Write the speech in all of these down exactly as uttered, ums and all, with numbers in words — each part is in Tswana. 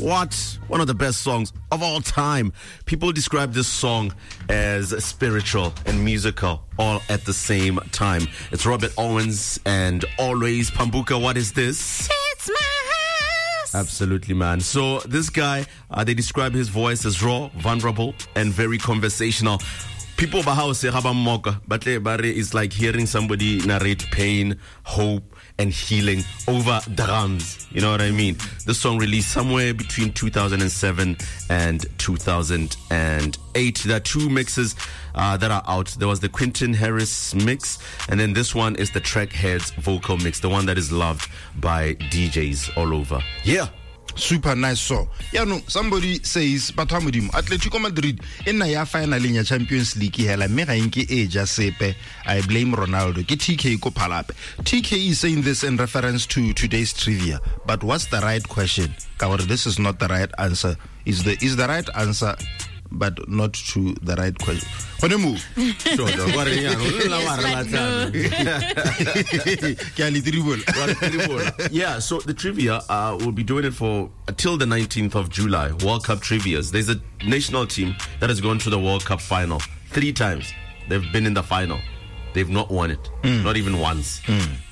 What? One of the best songs of all time. People describe this song as spiritual and musical all at the same time. It's Robert Owens and Always. Pambuka, what is this? It's my house. Absolutely, man. So this guy, uh, they describe his voice as raw, vulnerable, and very conversational. People ba house ga ba mmoka, ba tle ba re it's like hearing somebody narrate pain, hope, and healing over drums. You know what I mean? This song released somewhere between two thousand seven and two thousand eight. There are two mixes uh, that are out. There was the Quentin Harris mix, and then this one is the Trackheads vocal mix, the one that is loved by D Js all over. Yeah. Super nice song. Yeah, no, somebody says, batho ba Modimo, Atletico Madrid e nna ya final ya Champions League hela mme ga nke e ja sepe. I blame Ronaldo. Ke T K ko Phalape. T K is saying this in reference to today's trivia. But what's the right question? Ka gore this is not the right answer. Is the is the right answer, but not to the right question. Gone mo. Sure, dog. Wa re yang? O la wa re batlang. Ke a le tribola. Wa re tribola. Yeah, so the trivia, uh, we'll be doing it for until the nineteenth of July. World Cup trivias. There's a national team that has gone to the World Cup final three times. They've been in the final. They've not won it. Mm. Not even once. Mm.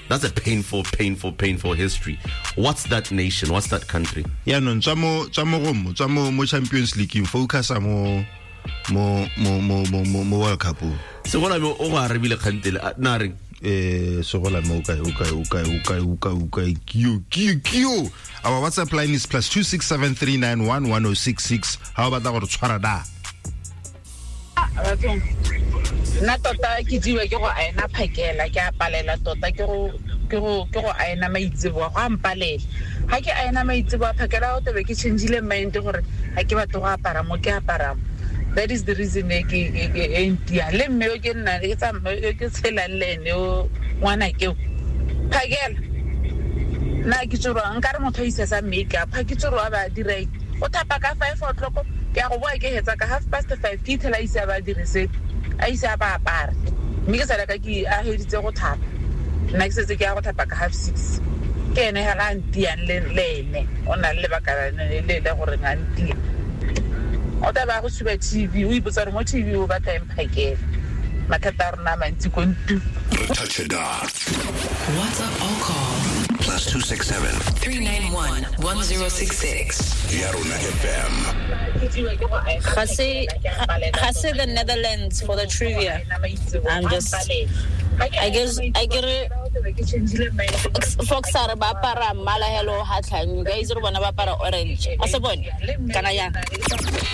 That's a painful, painful, painful history. What's that nation? What's that country? Yeah, no, tswa mo, tswa mo go mo, tswa mo, mo Champions League, focus mo, mo, mo, mo, mo, mo, mo World Cup. So what I'm o go arabile kgantele, na reng? Eh, so gola mo kae, o kae, o kae, o kae, o kae, o kae, kio, kio, kio. Our WhatsApp line is plus two six seven three nine one one oh six six. How about that gore tshwara da? Bathong, nna tota ke jewa ke go aena phakela, ke a palela tota ke go, ke go, ke go aena maitseboa, go a mpalela. Ha ke aena maitseboa phakela, o tebe ke change-ile mind gore ha ke batle go apara mo, ke apara mo. That is the reason e ke, ke, ke, e ntia. Le mme yo ke nna, ke tsa mme yo ke tshelang le ene o ngwana ke o. Phakela. Nna ke tsoroa, nkare motho a isa sa make-up, ha ke tsoroa ba dira eng? O thapa ka five o'clock, ke a go boa ke hetsa ka half past five, ke ithela a ise a ba dire sepe, a ise a ba apare. Mme ke sala ka ke a heditse go thapa. Nna ke setse ke ya go thapa ka half six. Ke ene hela a ntiang le, le ene. O na le lebaka le, le, le gore a ntia. O tla ba go tshuba T V, o ipotsa gore mo T V o batla eng phakela. Mathata a rona a mantsi ko ntu. Touch a dot. WhatsApp or call plus two six seven three nine one one zero six six. Yarona F M. Ga se, ga se the Netherlands for the trivia. I'm just, I guess, I get it. Folks are ba apara mmala hello ha tlhang. You guys re bona ba apara orange. A se bone? Kana yang?